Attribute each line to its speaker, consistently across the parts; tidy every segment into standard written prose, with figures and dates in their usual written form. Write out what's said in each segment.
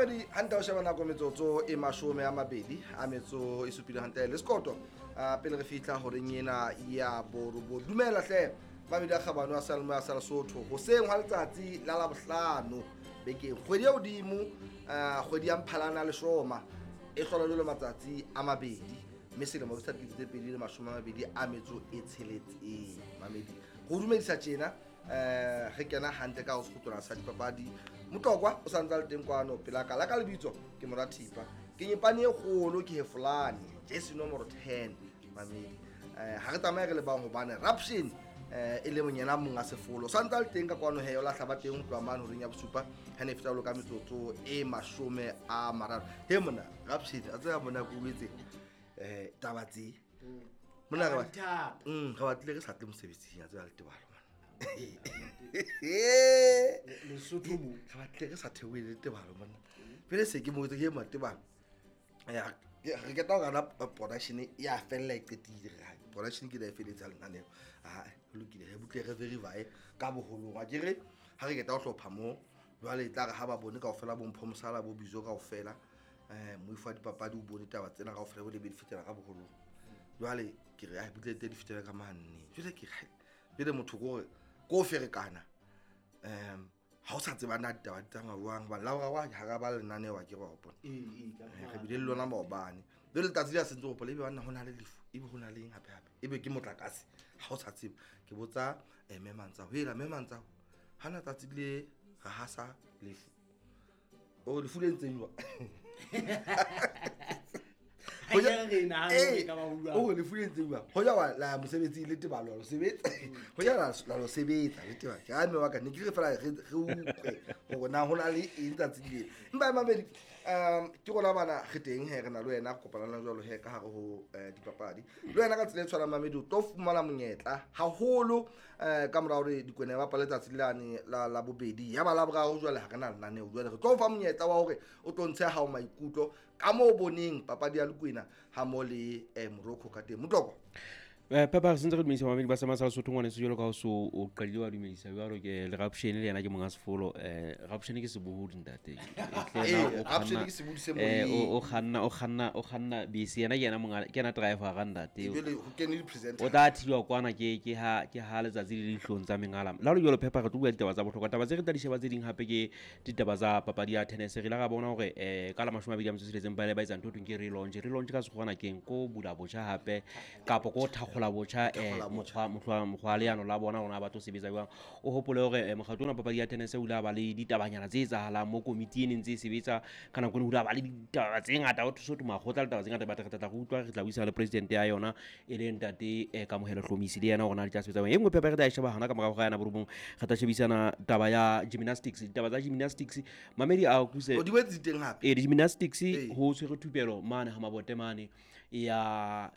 Speaker 1: Mamedi hantle o sheba nako metsotso e 27 hantle le sekoto pele re fihla horeng ena ya borobo. Dumela hle mamedi a kgabane a Salmo a sa Lesotho hoseng hwa letsatsi la Labohlano bekeng kgwedi ya hodimo kgwedi ya Mphalana le Shoma e hlola jwalo matsatsi a mabedi mme selemo sa 2026 mamedi go dumedisa tjena re kena hantle ka ho sekgutwana sa dipapadi. Motlokwa o sa ntse a le teng kwano pela ka la ka lebitso ke mora Thipa ke nyepane e kgolo ke hefolane jesi nomoro 10 mamedi. Ha re tsamaye re le bang hobane Raption e le monyena monga sefolo sa ntse a le teng ka kwano he o lahla ba teng ho tloha mane horeng ya bosupa ha ne feta ka metsotso e 30. He mona Raption a tsaya mona ko wetse taba tse mona re batlile re sa tle mosebetsing a tsaya le tebalo
Speaker 2: Lesotho mo
Speaker 1: re batlile re sa theohele tebalo mona pele se ke mo ke matebalo re keta ho rana production ya fella e qetile re production ke la e feletsa lenaneo a lokile re butle re verify ka boholong a ke re ha re keta ho hlopha mo jwale e tla re ha ba bone kaofela bo Mpho Mosala bo Bizo kaofela moifo wa dipapadi o bone taba tsena kaofela bo lebe di fetela ka boholong jwale ke re a butle tse di fetela ka manne jwale ke re pele motho ko re ko ferekana ha o sa tseba na ditaba di tsamaya jwang hobane la boraro ha ra ba lenaneo a ke re wa hopola re bile le lona maobane jwale letsatsi le a sentse hopola ebe banna ho na le lefu ebe ho na le eng hape hape ebe ke motlakase ha o sa tseba ke botsa mme Mantsao hela mme Mantsao ha na tsatsi le re hasa lefu o lefu le ntseng jwang o lefu le ntseng jwang ho ja la mosebetsi le tebalo lo sebetsa ho ja la lo sebetsa le tebalo ke a mme wa ka ne ke re fela re utlwe hore na ho na le eng tsatsi le empa mamedi ke rona bana re teng he re na le wena re kopana le jwalo he ka hare ho dipapadi le wena ka tsela e tshwanang mamedi o tlo fumana monyetla haholo ka mora hore Dikwena ya bapale tsatsi lane la bobedi ya ba la boraro jwale ha re na lenaneo jwale re tlo fa monyetla wa hore o tlo ntshe hao maikutlo ka moo boneng papadi ya Lekwena ha mo le Morocco ka teng. Motlokwa
Speaker 3: Papa re sentse re dumedisa mamedi ba Sama sa Lesotho ngwaneso jwalo ka ho so o qadile wa dumedisa jwalo ke le Raption le yena ke monga sefolo. Raption ke sebohodi ntate
Speaker 1: Raption ke sebohodi se moyeng
Speaker 3: o kganna bese yena ke yena monga ke yena driver ga ntate
Speaker 1: jwale ho kene di presenter
Speaker 3: o tla thilwa kwana ke ha letsatsi le dihlong tsa mengala la lo jwalo. Papa re tlo bua ditaba tsa bohlokwa taba tse re tla di sheba tse ding hape ke ditaba tsa papadi ya tennis. Re la ga bona hore ka la 26 ba le ba etsa ntho thweng ke relaunch ka sekgwana keng ko bula botjha hape kapa ko thakgola botjha mokgwa leano la bona rona ba tlo sebetsa jwang. O hopole hore mokgatlo ona papadi ya tennis o ile ba le ditabanyana tse etsahalang mo komiti e neng tse sebetsa ka nako eno ho ile ba le ditaba tse ngata ho thuso makgotla le taba tse ngata ba tla re utlwa re tla buisana le president ya yona e leng ntate Kamohelo Hlomisi le yena hore na di tla sebetsa jwang. E nngwe pepa re tla e sheba hona ka morao ga yana borobong re tla shebisana taba ya gymnastics ditaba tsa gymnastics mamedi a kuse
Speaker 1: o di wetse teng hape
Speaker 3: gymnastics ho tshwere thupelo mane ha mabote mane ya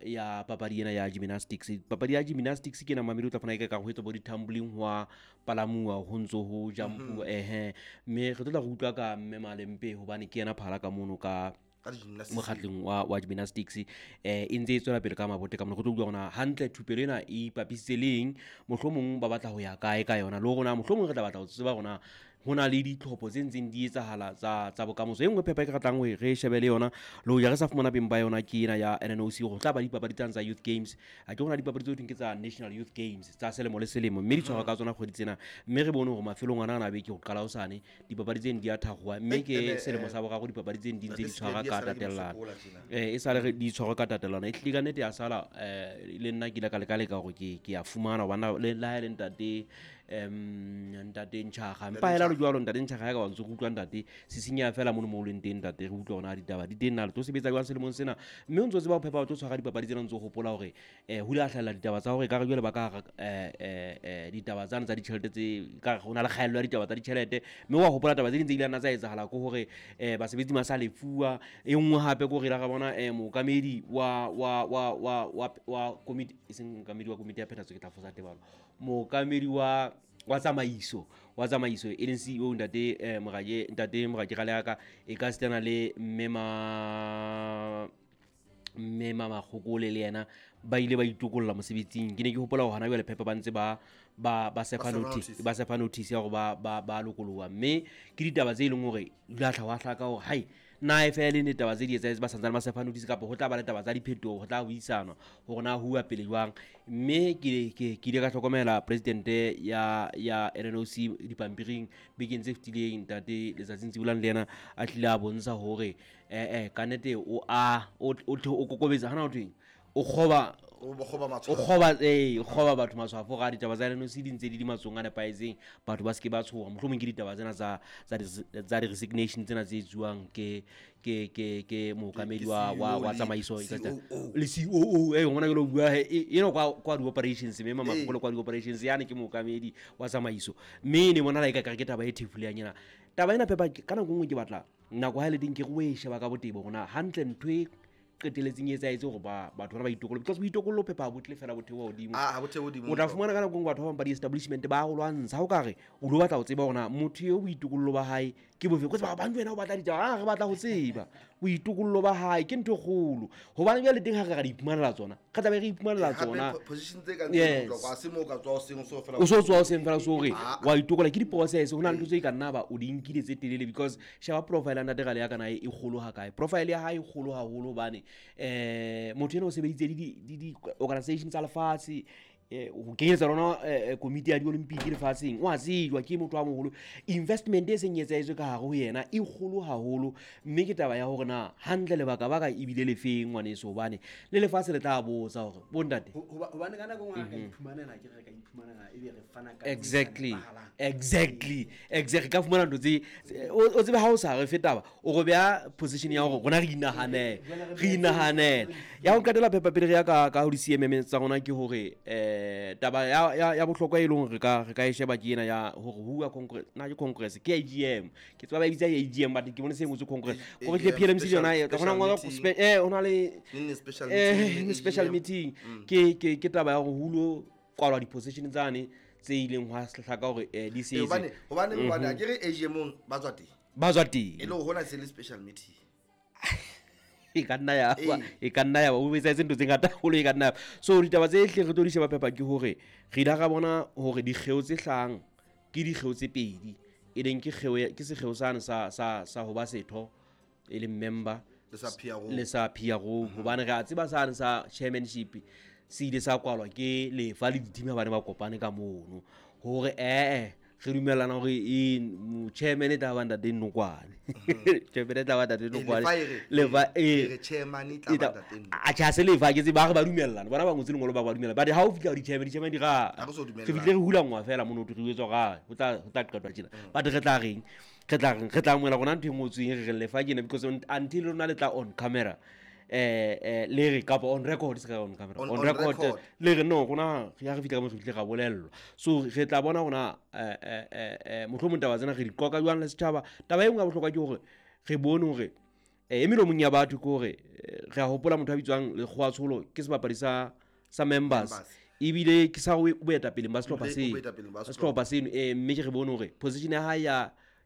Speaker 3: papadi ena ya gymnastics. Papadi ya gymnastics ke na mamedi o tla fana ka ho etsa bo di-tumbling hwa palamuwa ho ntso ho jump mme re tlo tla re utlwa ka mme Malempe hobane ke yena phala ka mono ka mokgatlong wa gymnastics e ntse e tswela pele ka mabote ka mona go tlo utlwa hore hantle thupelo ena e ipapisitse leng mohlomong ba batla ho ya kae ka yona le rona mohlomong re tla batla ho tseba rona ho na le ditlhopho tse ntseng di etsahala tsa bokamoso. E nngwe phepa e ke ratang hore re shebe le yona le hoja re sa fumana beng ba yona ke ena ya NNOC go tla ba dipapadi tsane tsa Youth Games. A ke hona dipapadi tse thweng ke tsa National Youth Games tsa selemo le selemo mme di tshwarwa ka tsona kgwedi tsena mme re bone hore mafelong ana a beke ho qala hosane dipapadi tseno di a thakgowa mme ke selemo sa boraro dipapadi tseno di ntse di tshwarwa ka tatelano e sale re di tshwarwa ka tatelano e hlile ka nnete ya sala le nna ke ile ka leka hore ke a fumana hobane le ha e le ntate ntate Ntšhaga mpa hela jwalo ntate Ntšhaga ya ka wa ntse go utlwa ntate se senya fela mono mo o leng teng ntate re utlwa hore ditaba di teng na le tlo sebetsa jwang selemong sena mme o ntso tseba ho phepa o tlo tshwara dipapadi tsena ntso hopola hore ho ile a hlahella ditaba tsa hore ka re jwale ba ka ditaba tsane tsa ditjhelete tse ka ho na le kgaello ya ditaba tsa ditjhelete mme wa hopola taba tse ding tse ile nna tsa etsahala ke hore basebetsi ba sa lefuwa. E nngwe hape ke hore la ra bona mookamedi wa komiti e seng mookamedi wa komiti ya phethahatso ke tla fosa tebalo mookamedi wa tsamaiso e leng CEO ntate Morake Raleaka e ka sitana le mme Makgokole le yena Ba ile ba itokolla mosebetsing. Ke ne ke hopola hore hana jwale Phepa ba ntse ba sefa notice, ba sefa notice ya hore ba lokoloha. Mme ke ditaba tse leng hore di la hla wa hlaka hore hai na e fele ne taba tse di etsahetse ba santsane ba sefa notice kapa ho tla ba le taba tsa diphetoho, ho tla buisanwa hore na huwa pele jwang. Mme ke ile ka hlokomela president ya NNOC dipampiring bekeng tse fetileng, ntate Letsatsing Tsibolang le yena a tlile a bontsha hore ka nnete o o kokobetsa hana ho thweng o kgoba o kgoba batho matshwafo ga ditaba tsa NNOC di ntse di di matsong a nepahetseng, batho ba seke ba tshoha. Mohlomong ke ditaba tsena tsa di-resignation tsena tse etsuwang ke mookamedi wa tsamaiso le COO. Ngwana ke lo bua eno kwa di-operations, mme mamagolo kwa di-operations yane ke mookamedi wa tsamaiso. Mme ne bona la e ka ke taba e thefuleng ena taba ena Phepa. Ka nako nngwe ke batla nako ha e le teng ke re o e sheba ka botebo hore na hantle ntho e qeteletseng e etsahetse hore batho bana ba itokolle, because boitokollo Phepa ha bo tle fela bo theoha hodimo. O tla fumana ka nako nngwe batho ba bang ba di-establishment ba go lwantsha. Ha o ka re o lo batla ho tseba hore na motho eo boitokollo ba hae ke bofe, ko tseba bang wena o batla ditaba, re batla ho tseba boitokollo ba hae ke ntho e kgolo, hobane jwale teng ha re ra di iphumanela tsona, re tlabe re iphumanela tsona. O so tswa o seng fela so re wa itokola ke di-process. Ho na le ntho tse ka nna ba o di nkile tse telele, because sheba profile ya ntate Gale ya kana e kgolo ha kae. Profile ya hae e kgolo haholo hobane motho ena o sebeditse le di-organization tsa lefatshe, ho kenyetsa lona komiti ya di-olympic lefatsheng. O a tsejwa ke motho a moholo. Investment e seng e etsahetswe ka hare ho yena e kgolo haholo. Mme ke taba ya hore na hantle lebaka baka ebile lefeng ngwaneso, hobane le lefatshe le tla botsa hore bontate.
Speaker 2: Hobane ka nako nngwe re ka iphumanela, ke re ka iphumanela ebe re fana ka
Speaker 3: Exactly. Ka fumana ntho tse o tsebe ha o sa re fe taba, o re beha position ya hore rona re inahanele. Ya ho qetela Phepa pele re ya ka ho di-CMM tsa rona ke hore taba ya bohlokwa e leng hore re ka e sheba ke ena ya hore huwa congress, na ke congress ke AGM, ke tseba ba e bitsa AGM, but ke bone se ngotswe congress hore ke PLMC yona e hona ngola hona le special meeting. Ke taba ya hore hulo kwalwa di-position tsane tse ileng hwa hlaka hore di setse.
Speaker 1: Hobane a ke re AGM ba tswa teng,
Speaker 3: ba tswa teng
Speaker 1: e le hona se le special meeting.
Speaker 3: E ka nna ya ba o etsahetse ntho tse ngata haholo, e ka nna. So ditaba tse hle re tlo di sheba Phepa ke hore re ile ra bona hore dikgeo tse hlahang ke dikgeo tse pedi, e leng ke kgeo ke sekgeo sane sa ho ba setho e leng member
Speaker 1: le
Speaker 3: sa PRO, hobane re a tseba sane sa chairmanship se ile sa kwalwa ke lefa le dithimi ha bane ba kopane ka mono hore re dumellana hore chairman e tla ba ntate Nokwane, chairman e tla ba ntate Nokwane,
Speaker 1: lefa chairman e tla ba ntate
Speaker 3: Nokwane. A tjha se lefa ke tseba re ba dumellana bona ba ngotse lengolo ba ba dumellana, but ha o fihla di-chairman di ra re fihle re hulangwa fela mono re etswa ga ho tla qetwa tjena, but re tla reng re tla amohela rona ntho e ngotsweng re re lefa kena, because until rona le tla on camera le re kapa on record, se ka on camera on record le re no rona ya re fihla ka mo re fihle ra bolellwa. So re tla bona rona mohlomong taba tsena re di qoka jwang le setjhaba. Taba e nngwe ya bohlokwa ke hore re bone hore e melomong ya batho ke hore re a hopola motho a bitswang Lekgowa Tsholo ke sebapadi sa members, ebile ke sa boetapeleng ba sehlopha sehlopha seno. Mme ke re bone hore position ya hae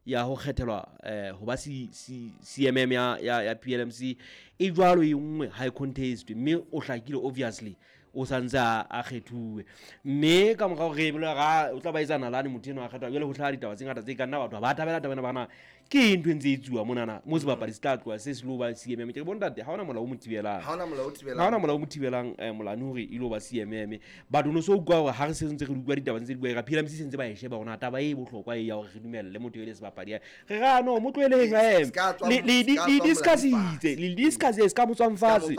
Speaker 3: ya ho kgethelwa ho ba CMM ya PLMC e jwalo e nngwe high contest, mme o hlakile obviously o santse a kgethuwe. Mme ka morao re bole ga o tla ba etsa nalane motho eno a kgethwa, jwale ho hlaha ditaba tse ngata tse ka nna batho ba thabela taba ena bana ke ntho e ntse e tsuwa monana mo sebapadi se tla tloha se se lo ba CMM. Ke re bontate ha hona molao o mo thibelang,
Speaker 1: ha hona
Speaker 3: molao o mo thibelang molane hore e lo ba CMM. Batho no so utlwa hore ha re se ntse re utlwa ditaba ntse di bua ra PLMC se ntse ba e sheba hore taba e bohlokwa e ya hore re dumelle motho e le sebapadi, re ra no mo tloheleng le discussitse le discuss se ka mo tswang fatshe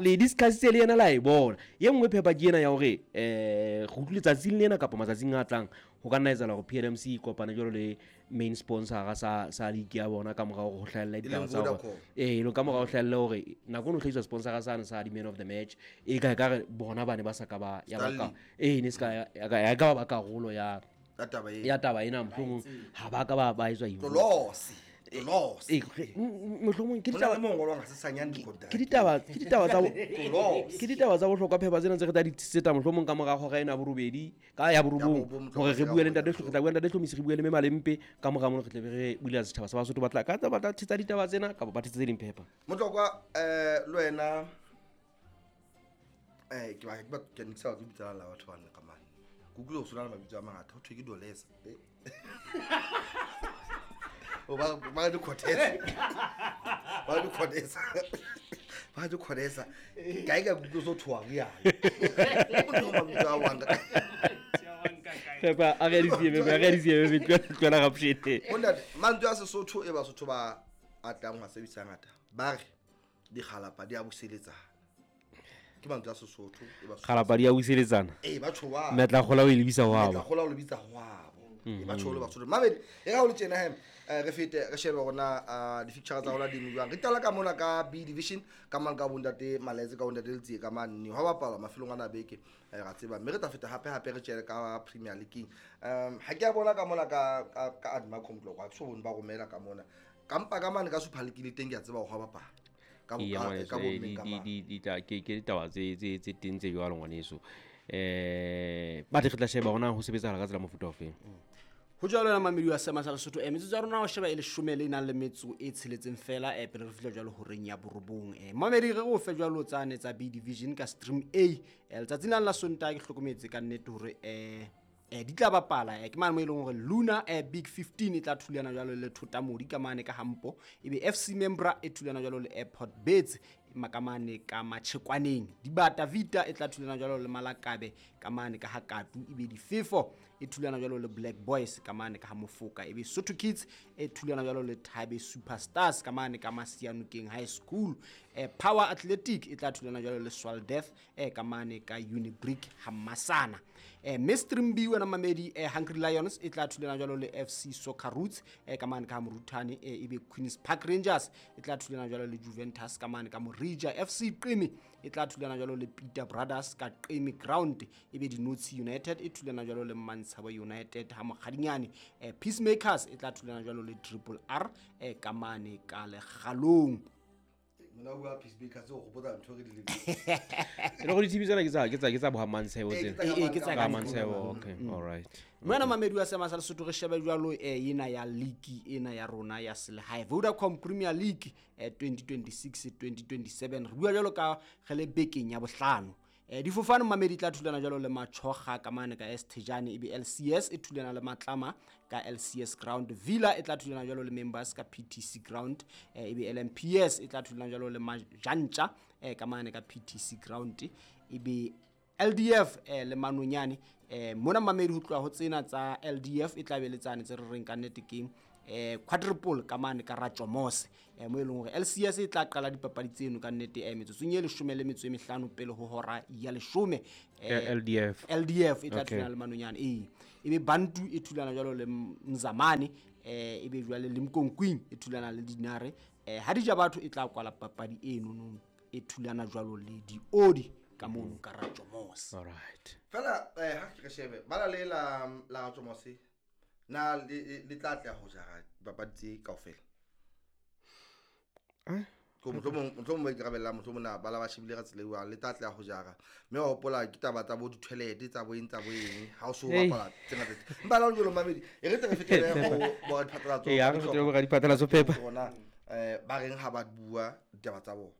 Speaker 3: le discussitse le yena la e bona. Ye nngwe Phepa ke ena ya hore re utlwile tsatsing lena kapa matsatsing a tlang ho ka nna etsahala hore PLMC e kopane jwalo le main sponsor sa league ya bona ka morao ho hlahella ditaba tsa hore ka morao ho hlahella hore nako no hlahiswa sponsor sane sa di man of the match e ka re bona bane ba sa ka ba ya ba ne se ka ya ka ba karolo ya taba ena, mohlomong ha ba ka ba etswa mohlomong ke ditaba tsa bohlokwa Phepa tsena tse re tla di tseta mohlomong ka mora hora ena borobedi ka ya borobong hore re bue le ntate re tla bua le ntate Hlomise, re bue le mme Malempe ka mora mono re tle re bulela setjhaba sa Basotho ba tla ka tsa batla thetsa ditaba tsena kapa ba thetsa tse ding Phepa.
Speaker 1: Motlokwa le wena Ke ba ke ba ke ne ke sa batle ho bitsa la batho ba nne ka mane. Ke utlwile ho sona le mabitso a mangata, ho thwe ke Dolesa. O ba ba di Cortez. Ba di Cortez. Ba di Cortez. Kae ka kutlwe so thoa re yana. O mabitso a wanga.
Speaker 3: Pepa, a re di a re di tloela gapshete.
Speaker 1: Bontate, mantswe a Sesotho e Basotho ba atlang ho a sebedisa ngata. Ba re dikgalapa di a buseletsana. Ke mantswe a Sesotho e Basotho.
Speaker 3: Kgalapa di a buseletsana.
Speaker 1: Eh, ba tjho wa.
Speaker 3: Metla kgola o e lebisa ho
Speaker 1: Metla
Speaker 3: abo.
Speaker 1: kgola o lebitsa ho abo. E ba tjho le Basotho. Mamedi, e ga o le tjena he, re fete re shebe hore na di-fixture tsa rona di eme jwang. Re qala ka mona ka B division, ka mang ka bontate Maletse, ka bontate Letsie ka mane. Hwa bapalwa mafelong ana a beke, ra tseba. Mme re tla feta hape hape re tjele ka Premier League. Ha ke a bona ka mona ka Admacom Tlokwa, ha ke so bone ba romela ka mona. Ka mpa ka mane ka Super League le teng ke a tseba hore hwa bapala. Ka bo
Speaker 3: Eya,
Speaker 1: ka,
Speaker 3: ngwaneso,
Speaker 1: ka bo mmeng ka mane.
Speaker 3: ke ditaba tse teng tse jwalo ngwaneso. Ba re tla sheba hore na ho sebetsahala ka tsela mofuta ofeng.
Speaker 2: Ho jwalo yona mamedi wa Seema sa Lesotho, metsotso ya rona ho sheba e leshome le nang le metso e tsheletseng fela, pele re fihla jwalo horeng ya borobong. Mamedi re o fe jwalo tsane tsa B division ka stream A. Letsatsing lane la Sontaha ke hlokometse ka nnete hore, di tla bapala, ke mane mo e leng hore Luna, Big 15 e tla thulana jwalo le Thotamodi ka mane ka Hampo, ebe FC Membra e thulana jwalo le Airport Bets ka mane ka Matshekwaneng. Dibata Vita e tla thulana jwalo le Malakabe ka mane ka Hakatu, ebe Difefo e thulana jwalo le Black Boys ka mane ka ha Mofoka, ebe Sotho Kids e thulana jwalo le Thabe Superstars ka mane ka Masianokeng High School. Power Athletic e tla thulana jwalo le Swal Death, ka mane ka Unibrick Hamasana. Mainstream B wena mamedi, Hungry Lions e tla thulana jwalo le FC Soccer Roots, ka mane ka Moruthane, ebe Queens Park Rangers e tla thulana jwalo le Juventus ka mane ka Morija. FC Qeme e tla thulana jwalo le Peter Brothers ka Qeme Ground, ebe Dinotshi United e thulana jwalo le Mantshabo United ha Mokgadinyane. Peacemakers e tla thulana jwalo le Triple R, ka mane ka Lekgalong.
Speaker 1: Mona o bua Peacemakers, o hopotsa ntho re di lebetse.
Speaker 3: E le hore di-team tsena ke tsa bo ha Mantshebo
Speaker 1: Eh,
Speaker 3: tsena.
Speaker 1: ke tsa
Speaker 2: Eh, eh, ke tsa
Speaker 3: Ka
Speaker 2: ka
Speaker 3: Mantshebo, okay, all right.
Speaker 2: Mme wena mamedi wa Seema sa Lesotho re shebe jwalo, ena ya league ena ya rona ya selehae Vodacom Premier League, 2026 2027. Re bua jwalo ka re le bekeng ya bohlano. Difofane mamedi tla thulana jwalo le Machoga ka mane ka S Thejane, ebe LCS e thulana le Matlama ka LCS Ground. Villa e tla thulana jwalo le Members ka PTC Ground, ebe LMPS e tla thulana jwalo le Majantja, ka mane ka PTC Ground, ebe LDF, le Manonyane. Mona mamedi ho tloha ho tsena tsa LDF e tla be le tsane tse re reng ka nnete ke, quadruple ka mane ka Ratjomose, mo e leng hore LCS e tla qala dipapadi tseno ka nnete, metsotsong e leshome le metso e mehlano pele ho hora ya leshome.
Speaker 3: LDF.
Speaker 2: LDF e tla
Speaker 3: Okay.
Speaker 2: thulana le Manonyane, ee. Ebe Bantu e thulana jwalo le Mzamane, ebe jwale le Mkonkwing e thulana le Dinare. Ha Dijabatho e tla kwala papadi eno no, e thulana jwalo le Diodi ka mono ka Ratjomose.
Speaker 3: All right.
Speaker 1: Fela, ha ke re shebe, bala le la Ratjomose, na le tla tla ho jara dipapadi tse kaofela?
Speaker 3: Eh?
Speaker 1: Ko mohlomong ba ikarabellang, mohlomong na ba la ba shebile ka tsela e jwang, le tla tla ho jara. Mme wa hopola ke taba tsa bo di-toilet, tsa bo eng, tsa bo eng, ha o so
Speaker 3: Hey.
Speaker 1: bapala tse ngata tse. Empa le ha ho le jwalo, mamedi, e re tle re fetele ho boradiphatlalatso
Speaker 3: Ee, ha re fetele ho boradiphatlalatso, Phepa.
Speaker 1: Rona, ba reng ha ba bua ditaba tsa bona.